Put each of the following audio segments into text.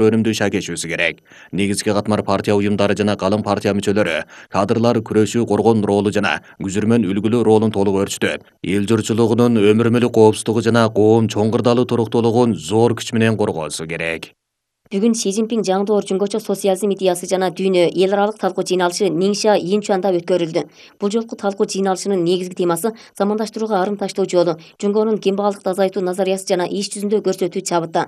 өнүмдүү иши кечүүсү керек. Негизги катмар партия уюмдары жана калың партия мүчөлөрү кадрлар күрөшүү коргон ролу жана күзүрмөн үлгүлүү ролун толук өрчүтөт. Эл журчулугунун өмүрмүлүк коопсуздугу жана коом чоң кырдаалуу туруктуулугун зор күч менен коргоосу керек. Бүгүн Си Цзиньпин жаңдоор жөнгөчө социализм идеясы жана дүйнө эл аралык талкуу жыйналышы Ниңша Инчуанда өткөрүлдү. Бул жолку талкуу жыйналышынын негизги темасы замандаштырууга арым таштоо жолу, жөнгөнүн кембагалдыкты азайтуу назариясы жана иш жүзүндө көрсөтүү чабыты.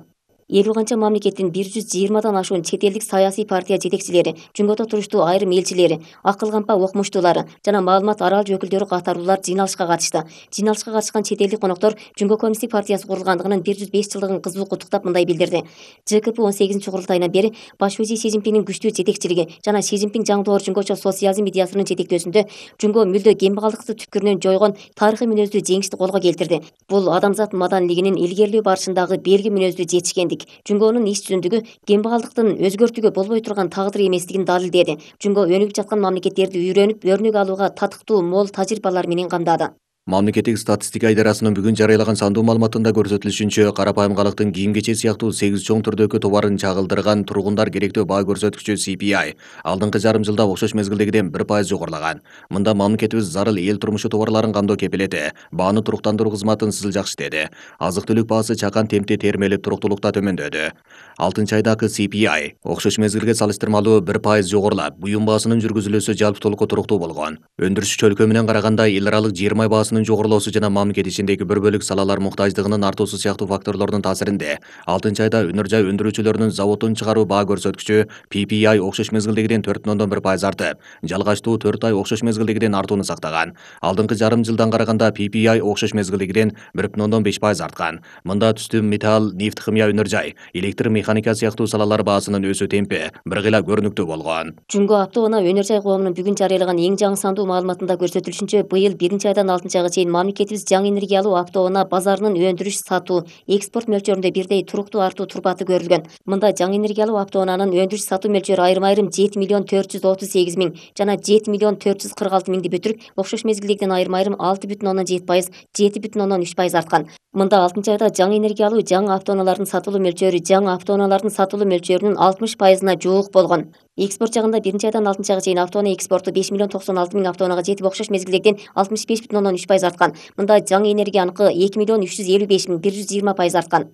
50 канча мамлекеттин 120дан ашуун чет элдик саясий партия жетекчилери, жөнгөтө туруштуу айрым элчилери, акыл кампа окумуштуулары жана маалымат аралж өкүлдөрү катарлуулар жыйналышка катышты. Жыйналышка катышкан чет элдик коноктор Жөнгө коммунисттик партиясы курулгандыгынын 105 жылдыгын кызуу куттуктап мындай билдирди. ЖКП 18-курултайынан бери баш өзи Си Цзиньпиндин күчтүү жетекчилиги жана Си Цзиньпин жаңдоор жөнгөчө социализм идеясынын жетектөөсүндө жөнгө мүлдө кембагалдыкты түпкүрүнөн жойгон тарыхый мүнөздүү жеңишти колго келтирди. Бул адамзат маданилигинин илгерилөө барышындагы белги мүнөздүү жетишкендик. Жөнгөнүн иш жүзүндүгү кембагалдыктын өзгөртүүгө болбой турган тагдыр эместигин далилдеди. Жөнгө өнүгүп жаткан мамлекеттерди үйрөнүп, өрнөк алууга татыктуу мол тажрыйбалар менен камдады. Мамлекеттик статистика идарасынын бүгүн жарыялаган сандуу маалыматында көрсөтүлүшүнчө, карапайым калктын кийим-кечек сыяктуу 8 чоң түрдөгү товарын чагылдырган тургундар керектөө баа көрсөткүчү CPI алдыңкы жарым жылда окшош мезгилдегиден 1% жогорулаган. Мында мамлекетибиз зарыл эл турмушу товарларын камдоо кепилети, бааны туруктандыруу кызматын сызыл иштеди. Азык-түлүк баасы чакан темпте термелип туруктуулукта төмөндөдү. 6-айдагы CPI окшош мезгилге салыштырмалуу 1% жогорулап, буюм баасынын жүргүзүлүүсү жалпытуулукка туруктуу болгон. Өндүрүш чөлкө менен караганда эл аралык жер май баасынын жогорулоосу жана мамлекет ичиндеги бір бөлүк салалар муктаждыгынын артуусу сыяктуу факторлордун таасиринде 6-айда өнөр жай өндүрүүчүлөрүнүн заводдун чыгаруу баа көрсөткүчү PPI окшош мезгилдегиден 4,1% артып, жалгачтуу 4 ай окшош мезгилдегиден артууну сактаган. Алдыңкы жарым жылдан караганда PPI окшош мезгилдегиден 1,5% арткан. Мында түстүү металл, нефть, химия, өнөр жай, электр механика сыяктуу салалар баасынын өсүү темпи бир гыйла көрүнүктүү болгон. Жөнгө автоунаа өнөр жай коомунун бүгүн жарыялаган эң жаңы сандуу маалыматында көрсөтүлүшүнчө, быйыл 1-айдан 6-айга чейин мамлекетибиз жаңы энергиялуу автоунаа базарынын өндүрүш, сатуу, экспорт мөлчөрүндө бирдей туруктуу артуу турбаты көрүлгөн. Мында жаңы энергиялуу автоунаанын өндүрүш, сатуу мөлчөрү айрым-айрым 7,438 миң жана 7,446 миңди бүтүрүп, окшош мезгилдегиден айрым-айрым 6,7%, 7,3% арткан. Мында 6-айда жаңы энергиялуу жаңы автоунаалардын сатылуу мөлчөрү жаңы автоунаалардын сатылуу мөлчөрүнүн 60%-на жуук болгон. Экспорт жагында 1-айдан 6-айга чейин автоунаа экспорту 5,96 миң автоунаага жетип, окшош мезгилдегиден 65,3% арткан. Мында жаңы энергияныкы 2,355 миң 120% арткан.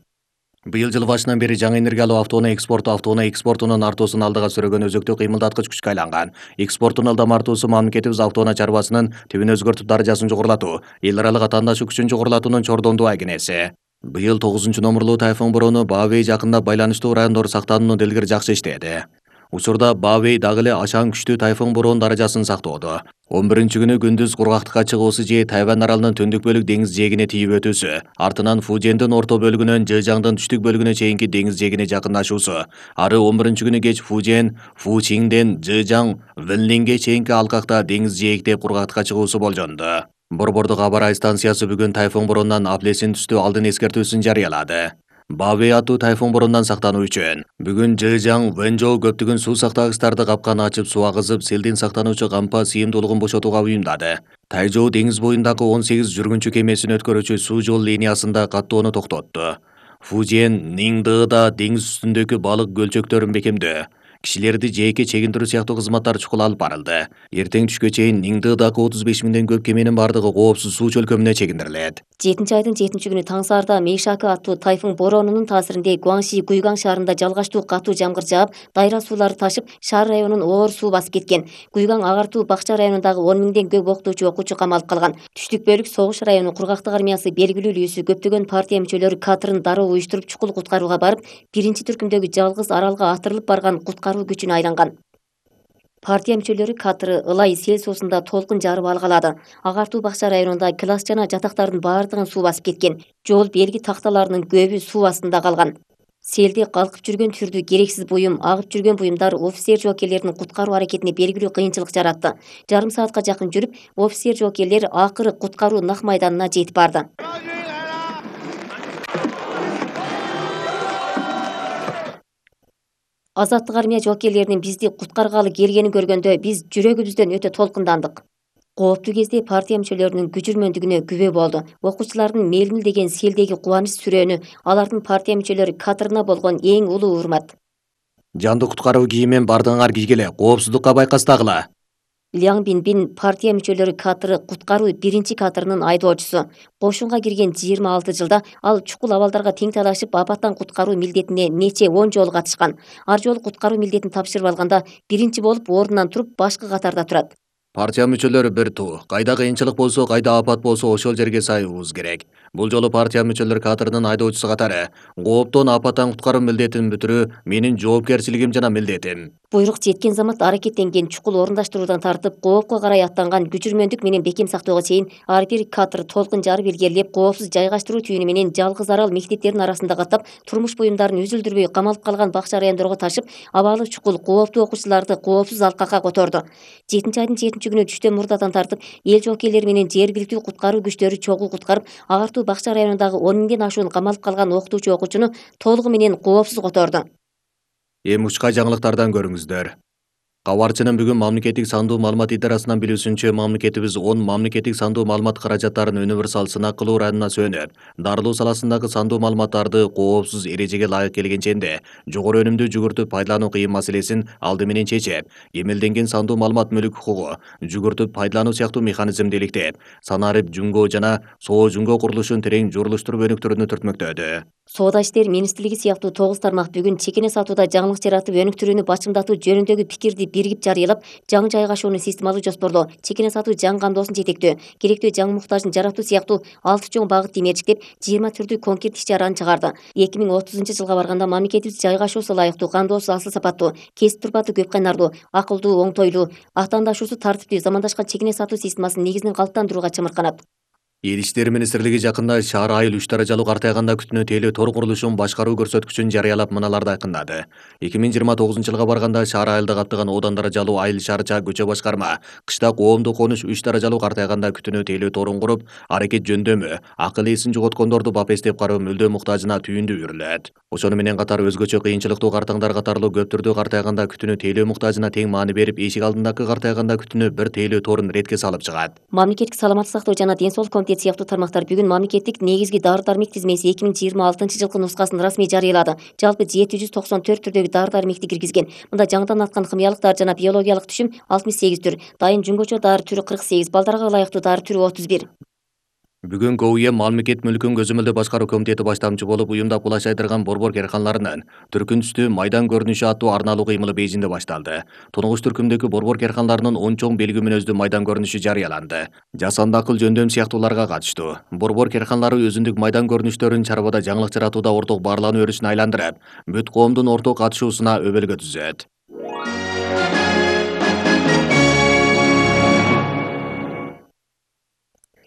Быйыл жыл башынан бери жаңы энергиялуу автоунаа экспортунун артуусун алдыга сүрөгөн өзөктүк кыймылдаткыч күчкө айланган. Экспорттун ылдам артуусу мамлекетибиз автоунаа чарбасынын тибин өзгөртүп даражасын жогорулатуу, эл аралык атаандаштык күчүн жогорулатуунун чордондуу айкенеси. Быйыл 9-номурлуу тайфун бороону Баавей жакында байланыштуу райондор сактаануунун илгери жакшы иштеди. Учурда Баавей дагы эле ашаң күчтүү тайфун бороон даражасын сактоодо. 11-күнү күндүз кургактыкка чыгуусу же Тайвань аралынын түндүк бөлүк деңиз жээгине тийип өтүүсү, артынан Фужендин орто бөлүгүнөн Жэжаңдын түштүк бөлүгүнө чейинки деңиз жээгине жакындашуусу, ары 11-күнү кеч Фужен, Фучиңден Жэжаң, Вэнлинге чейинки алкакта деңиз жээктеп кургактыкка чыгуусу болжонду. Борбордук аба ырайы станциясы бүгүн тайфун бороондан аплесин түстүү алдын эскертүүсүн жарыялады. Баавей аттуу тайфун бороондан сактануу үчүн бүгүн Жэжаң, Вэнжоу көптөгөн суу сактагычтарды капкан ачып суу агызып, селден сактануучу кампа сыйымдуулугун бошотууга уюмдады. Тайжоу деңиз боюндагы 18 жүргүнчү кемесин өткөрүүчү суу жол линиясында каттоону токтотту. Фужен, Ниңдыда деңиз үстүндөгү балык көлчөктөрүн бекемдөө, кишилерди жээкке чегиндирүү сыяктуу кызматтар чукул алып барылды. Эртең түшкө чейин Ниңдыдагы 35 миңден көп кеменин бардыгы коопсуз суу чөлкөмүнө чегиндирилет. 7-айдын 7-күнү таң саарда Мейшака аттуу тайфун бороонунун таасиринде Гуаңши Гуйгаң шаарында жалгачтуу катуу жамгыр жаап, дайра суулары ташып, шаар районун оор суу басып кеткен. Гуйгаң агартуу бакча районундагы 10 миңден көп окутуучу камалып калган. Түштүк бөлүк согуш району кургактык армиясы белгилүү үлгүсү көптөгөн партия мүчөлөрү катырын дароо уюштуруп чукул куткарууга барып, биринчи түркүмдөгү жалгыз аралга атырылып барган куткаруу күчүнө айланган. Партия мүчөлөрү катыры ылай сел суусунда толкун жарып алгалады. Агартуу бакча районунда класс жана жатактардын баардыгын суу басып кеткен. Жол белги такталарынын көбү суу астында калган. Селди калкып жүргөн түрдүү керексиз буюм, агып жүргөн буюмдар офицер жоокерлердин куткаруу аракетине белгилүү кыйынчылык жаратты. Жарым саатка жакын жүрүп, офицер жоокерлер акыры куткаруу нак майданына жетип барды. Азаттык армия жоокерлеринин бизди куткаргалы келгенин көргөндө биз жүрөгүбүздөн өтө толкундандык. Кооптуу кезде партия мүчөлөрүнүн күчүрмөндүгүнө күбө болду. Окуучулардын мелмил деген селдеги кубаныч сүрөөнү, алардын партия мүчөлөрү катырына болгон эң улуу урмат. Жанды куткаруу кийимин бардыгыңар кийгиле, коопсуздукка байкастагыла. Ляң Бинбин партия мүчөлөрү катары куткаруу биринчи катарынын айдоочусу. Кошунга кирген 26 жылда ал чукул абалдарга тең талашып, апаттан куткаруу милдетине нече 10 жолу катышкан. Ар жолу куткаруу милдетин тапшырып алганда биринчи болуп ордунан туруп башкы катарда турат. Партия мүчөлөрү бир туу. Кайда кыйынчылык болсо, кайда апат болсо, ошол жерге саybыбыз керек. Бул жолу партия мүчөлөр катарынын айдоочусу катары кооптон апаттан куткаруу милдетин бүтүрүү менин жоопкерчилигим жана милдетим. Буйрук жеткен замат аракеттенген чукул орундаштыруудан тартып, коопко карай аттанган күчүрмөндүк менен бекем сактоого чейин ар бир катыр толкун жарып илгерилеп, коопсуз жайгаштыруу түйүнү менен жалгыз арал мектептердин арасында каттап, турмуш буюмдарын үзүлдүрбөй камалып калган бакча райондорго ташып, абалы чукул кооптуу окуучуларды коопсуз алкакка которду. 7 айдын 7 күнү түштөн мурдадан тартып, эл жоокейлери менен жергиликтүү куткаруу күчтөрү чогуу куткарып, агартуу бакча районундагы 10 миңден ашуун камалып калган окутуучу окуучуну толугу менен коопсуз которду. Эми учка жаңылыктардан көрүңүздөр. Кабарчынын бүгүн мамлекеттик сандуу маалымат идарасынан билүүсүнчө, мамлекетибиз 10 мамлекеттик сандуу маалымат каражаттарын универсал сынак кылуу районуна сөнүп, дарылоо саласындагы сандуу маалыматтарды коопсуз эрежеге ылайык келгенченде жогору өнүмдүү жүгүртүп пайдалануу кыйын маселесин алды менен чечип, эмелденген сандуу маалымат мүлк укугу жүгүртүп пайдалануу сыяктуу механизмди иликтеп, санарип жумго жана соо жумго курулушун терең журулуштуруп өнүктүрүүнү түртмөктөдү. Соода иштер министрлиги сыяктуу 9 тармак бүгүн чекене сатууда жаңылык жаратып өнүктүрүүнү бачымдатуу жөнүндөгү пикирди биригип жарыялап, жаңы жайгашууну системалуу жоспорлоо, чекене сатуу жаңы кандоосун жетектөө, керектүү жаңы муктажын жаратуу сыяктуу 6 чоң багытты мерчиктеп, 20 түрдүү конкрет иш-чараны чыгарды. 2030-жылга барганда мамлекетибиз жайгашуусу ылайыктуу, кандоосу асыл сапаттуу, кесип турпаты көп кайнарлуу, акылдуу, оңтойлуу, атаандашуусу тартиптүү, замандашкан чекене сатуу системасынын негизин калыптандырууга чымырканат. Эл иштери министрлиги жакында шаар айыл 3 даражалуу картайганда күтүнө тейлөө тор курулушун башкаруу көрсөткүчүн жарыялап мыналарды айкындады. 2029-жылга барганда шаар айылда каттаган одан даражалуу айыл шаарча көчө башкарма, кышта коомдук конуш 3 даражалуу картайганда күтүнө тейлөө торун куруп, аракет жөндөмү, акыл эсин жоготкондорду бапестеп кароо мүлдөө муктажына түйүндү үйрүлөт. Ошону менен катар өзгөчө кыйынчылыктуу картаңдар катарлуу көп түрдүү картайганда күтүнө тейлөө муктажына тең маани берип, эшик алдындагы картайганда күтүнө бир тейлөө торун ретке салып чыгат. Мамлекеттик саламаттык сактоо жана ден соолук комитети сыяктуу тармактар бүгүн мамлекеттик негизги дары-дармек тизмеси 2026-жылкы нускасын расмий жарыялады. Жалпы 794 түрдөгү дары-дармекти киргизген. Мында жаңыдан аткан химиялык дары жана биологиялык түшүм 68 түр, дайын жөнгөчө дары түрү 48, балдарга ылайыктуу дары түрү 31. Бүгүн КУЭ мамлекет мүлкүн көзөмөлдөө башкаруу комитети баштамчы болуп, уюмда булаш айдырган борбор керканаларынын түркүн түстүү майдан көрүнүшү аттуу арналуу кыймылы Бейжиңде башталды. Тунугуш түркүмдөгү борбор керканаларынын 10 чоң белги мүнөздүү майдан көрүнүшү жарыяланды. Жасанды акыл жөндөм сыяктууларга катыштуу. Борбор керканалары өзүндүк майдан көрүнүштөрүн чарбада жаңылык жаратууда орток баарлануу өрүшүнө айландырып, бүт коомдун орток катышуусуна өбөлгө түзөт.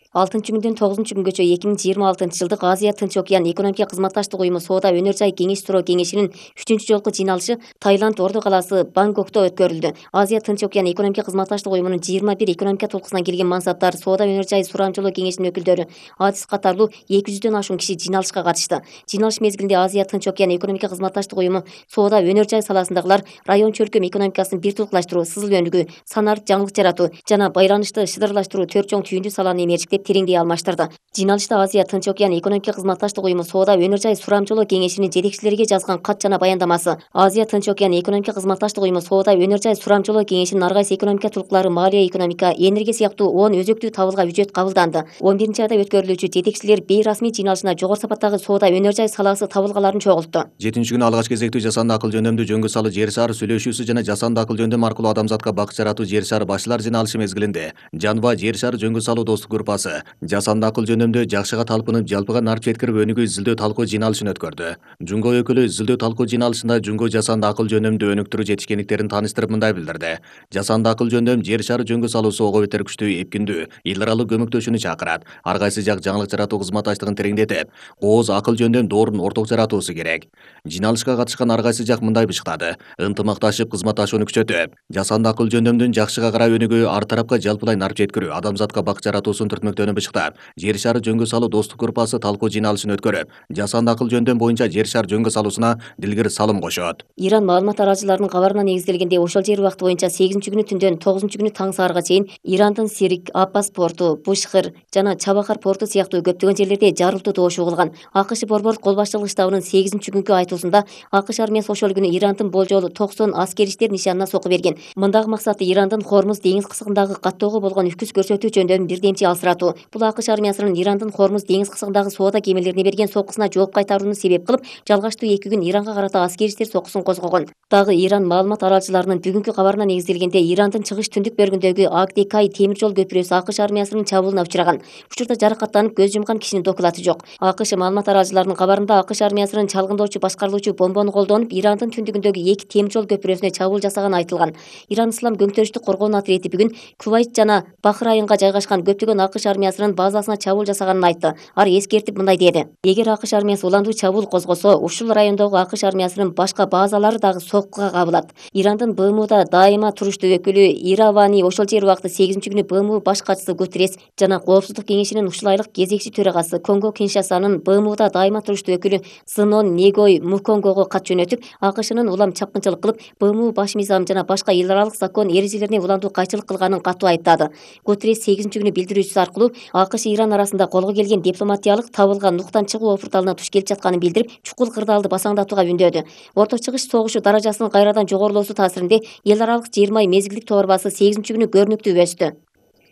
6-күндөн 9-күнгөчө 2026-жылдык Азия Тынч океан экономика кызматташтык уюму Соода өнөр жай кеңеш суроо кеңешинин 3 жолку жыйналышы Таиланд орду калаасы Бангкокто өткөрүлдү. Азия Тынч океан экономика кызматташтык уюмунун 21 экономика толкусунан келген мансаптар, Соода өнөр жай сурамжылоо кеңешинин өкүлдөрү, адис катарлуу 200дөн ашуун киши жыйналышка катышты. Жыйналыш мезгилинде Азия Тынч океан экономика кызматташтык уюму Соода өнөр жай саласындагылар район чөлкөм экономикасын бир тулукташтыруу, сызыл өнүгүү, санарип жаңылык жаратуу жана байланышты шыдырлаштыруу 4 чоң түйүндүү саланы эмерчиктеп тереңдей алмаштырды. Жыйналышта Азия Тынч океан экономика кызматташтык уюму Соода өнөр жай сурамжылоо кеңешинин жетекчилерге жазган кат жана баяндамасы, Азия Тынч океан экономика кызматташтык уюму Соода өнөр жай сурамжылоо кеңешинин ар кайсы экономика tulуклары, маалия, экономика, энергия сыяктуу 10 өзөктүү табылга үчөт кабылданды. 11-айда өткөрүлүүчү жетекчилер бейрасмий жыйналышына жогору сапаттагы соода өнөр жай саласы табылгаларын чогултту. 7-күнү алгач кезектүү жасанды акыл жөндөмдүү жөнгө салуу жер шары сүйлөшүүсү жана жасанды акыл жөндөм аркылуу адамзатка бакыт жаратуу жер шары башчылар жыйналышы мезгилинде Жанва жер шары жөнгө салуу достук группасы жасанды акыл жөндөмдө жакшыга талпынып, жалпыга нарп жеткирип өнүгүү изилдөө талкуу жыйналышын өткөрдү. Жунго өкүлү изилдөө талкуу жыйналышында жунго жасанды акыл жөндөмдү өнүктүрүү жетишкендиктерин тааныштырып мындай билдирди. Жасанды акыл жөндөм жер шары жөнгө салуусу ого бетер күчтүү, эпкиндүү, иларалуу көмөктөшүүнү чакырат. Ар кайсы жак жаңылык жаратуу кызматташтыгын тереңдетип, кооз акыл жөндөм доорун орток жаратуусу керек. Жыйналышка катышкан ар кайсы жак мындай бышыктады: ынтымакташып кызматташууну күчөтүп, жасанды акыл жөндөмдүн жакшыга карай өнүгүү, ар тарапка жалпылай нарп жеткирүү, адамзатка бакыт жаратуусун түртмөктөп өлкөтөнү бышыктап, жер шары жөнгө салуу достук группасы талкуу жыйналышын өткөрүп, жасанды акыл жөндөм боюнча жер шар жөнгө салуусуна дилгир салым кошот. Иран маалымат арачыларынын кабарына негизделгенде ошол жер убакыты боюнча 8-күнү түндөн 9-күнү таң саарга чейин Ирандын Сирик, Аппас порту, Бушхыр жана Чабахар порту сыяктуу көптөгөн жерлерде жарылтуу добуш угулган. АКШ борбордук кол башчылык штабынын 8-күнкү айтуусунда АКШ армиясы ошол күнү Ирандын болжолу 90 аскери иштер нишанына сокку берген. Мындагы максаты Ирандын Хормуз деңиз кысыгындагы каттоого болгон үкүс көрсөтүү жөндөмүн бирдемчи алсыратуу. Бул АКШ армиясынын Ирандын Хормуз деңиз кысыгындагы соода кемелерине берген соккусуна жооп кайтарууну себеп кылып, жалгаштуу 2 күн Иранга карата аскери иштер соккусун козгогон. Дагы Иран маалымат арачыларынын бүгүнкү кабарына негизделгенде Ирандын чыгыш түндүк бөлүгүндөгү Агдекай темир жол көпүрөсү АКШ армиясынын чабуулуна учураган. Учурда жаракаттанып көз жумган кишинин докулаты жок. АКШ маалымат арачыларынын кабарында АКШ армиясынын чалгындоочу башкарылуучу бомбону колдонуп, Ирандын түндүгүндөгү 2 темир жол көпүрөсүнө чабуул жасаганы айтылган. Иран Ислам көңтөрүштүк коргоонун отряди бүгүн Кувайт жана Бахрайынга жайгашкан көптөгөн АКШ армиясынын базасына чабуул жасаганын айтты. Ар эскертип мындай деди: эгер АКШ армиясы уландуу чабуул козгосо, ушул райондогу АКШ армиясынын башка базалары дагы соккуга кабылат. Ирандын БМУда дайыма туруштуу өкүлү Иравани ошол жер убакыты 8-күнү БМУ баш катчысы Гутеррес жана Коопсуздук кеңешинин ушул айлык кезекчи төрагасы Конго Киншасанын БМУда дайыма туруштуу өкүлү Сынон Негой Муконгого кат жөнөтүп, АКШнын улам чапкынчылык кылып, БМУ баш мыйзам жана башка эл аралык закон эрежелерине уландуу кайчылык кылганын катуу айыптады. Гутеррес 8-күнү билдирүүсү аркылуу АКШ Иран арасында колго келген дипломатиялык табылган нуктан чыгуу опурталына туш келип жатканын билдирип, чукул кырдаалды басаңдатууга үндөдү. Орто чыгыш согушу даражасынын кайрадан жогорулоосу таасиринде эл аралык 20 ай мезгилдик товар базасы 8-күнү көрүнүктүү өстү.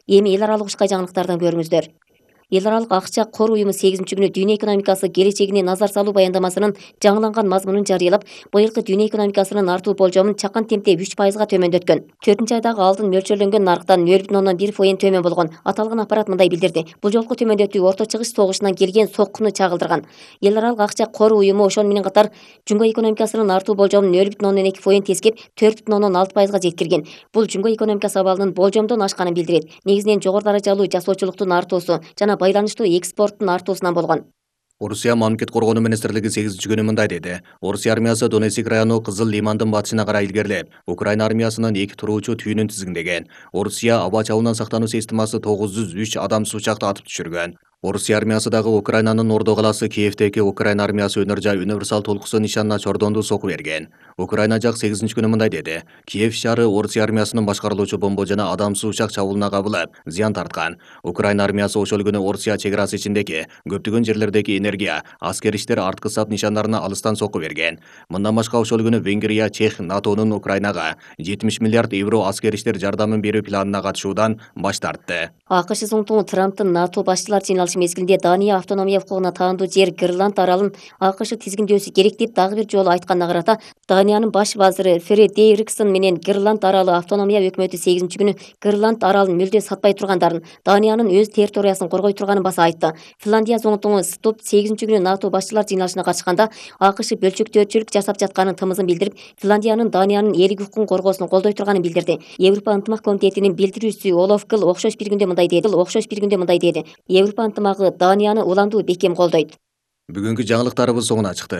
Эми эл аралык ушкай жаңылыктардан көрүңүздөр. Эл аралык акча кор уюму 8-күнү дүйнө экономикасы келечегине назар салуу баяндамасынын жаңыланган мазмунун жарыялап, быйылкы дүйнө экономикасынын артуу болжомун чакан темпте 3%га төмөндөткөн. 4-айдагы алдын мөлчөрлөнгөн нарыктан 0,1% төмөн болгон. Аталган аппарат мындай билдирди: бул жолку төмөндөтүү орто чыгыш согушунан келген соккуну чагылдырган. Эл аралык акча кор уюму ошол менен катар жумго экономикасынын артуу болжомун 0,2% тескеп 4,6%га жеткирген. Бул жумго экономикасы абалынын болжомдон ашканын билдирет. Негизинен жогору даражалуу жасоочулуктун артуусу жана байланыштуу экспорттун артуусунан болгон. Орусия мамлекет коргонуу министрлиги 8-күнү мындай деди: Орусия армиясы Донецк району Кызыл Лимандын батышына карай илгерилеп, Украина армиясынын 2 туруучу түйүнүн тизгиндеген. Орусия аба чабуулунан сактануу системасы 903 адамсыз учакты атып түшүргөн. Орусия армиясы дагы Украинанын Ордо калаасы Киевдеги Украина армиясы өнөр жай универсал толкусу нишанына чордондуу сокку берген. Украина жак 8-күнү мындай деди: Киев шаары Орусия армиясынын башкарылуучу бомба жана адамсыз учак чабуулуна кабылып, зыян тарткан. Украина армиясы ошол күнү Орусия чек арасы ичиндеги көптөгөн жерлердеги энергия, аскер иштер арткы сап нишандарына алыстан сокку берген. Мындан башка ошол күнү Венгрия, Чех НАТОнун Украинага 70 миллиард евро аскер иштер жардамын берүү планына катышуудан баш тартты. АКШ Зоңтуңу Трамптын НАТО башчылар жыйналышы мезгилинде Дания автономия укугуна таандуу жер Гренланд аралын АКШ тизгиндөөсү керек деп дагы бир жолу айтканына карата, Даниянын баш вазиры Фредериксон менен Гренланд аралы автономия өкмөтү 8-күнү Гренланд аралын мүлдө сатпай тургандарын, Даниянын өз территориясын коргой турганын баса айтты. Финляндия Зоңтуңу Ступ 8-күнү НАТО башчылар жыйналышына катышканда АКШ бөлчөктөөчүлүк жасап жатканын тымызын билдирип, Финляндиянын Даниянын элик укугун коргоосун колдой турганын билдирди. Европа ынтымак комитетинин билдирүүчүсү Олаф Гыл окшош бир күндө мындай деди: Европа ынтымагы Данияны уландуу бекем колдойт. Бүгүнкү жаңылыктарыбыз соңуна чыкты.